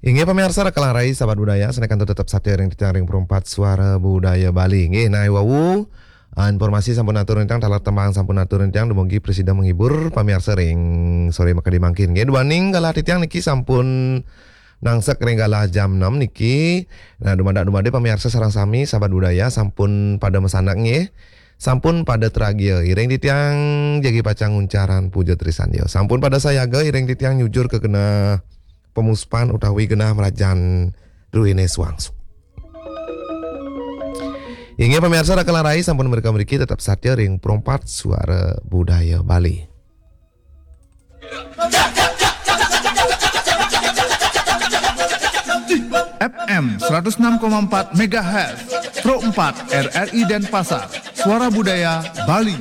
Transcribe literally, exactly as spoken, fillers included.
Inggih pamiarsa rakalang rai sahabat budaya, sané kantun tetep satia ring titiang ring Perumpat Suara Budaya Bali. Inggih, nah, wau, ah, informasi sampun atur titiang, taler tembang sampun atur titiang, dumugi prasida menghibur pamiarsa ring sore makadi mangkin. Inggih, duaning galah titiang niki sampun nangsek ring galah jam enam niki. Nah, dumadak-dumadik pamiarsa sareng sami sahabat budaya sampun pada masanak nggih. Sampun pada tragia iring titiang jagi pacang nguncarang puja trisandia. Sampun pada sayaga iring titiang nyujur ka genah pamuspan utawi genah mrajan druéné suangsu. Inggih pamiarsa rakalang rai sampun mrika mriki tetep satia ring Perumpat Suara Budaya Bali. F M seratus enam koma empat megahertz, Pro empat R R I Denpasar, Suara Budaya Bali.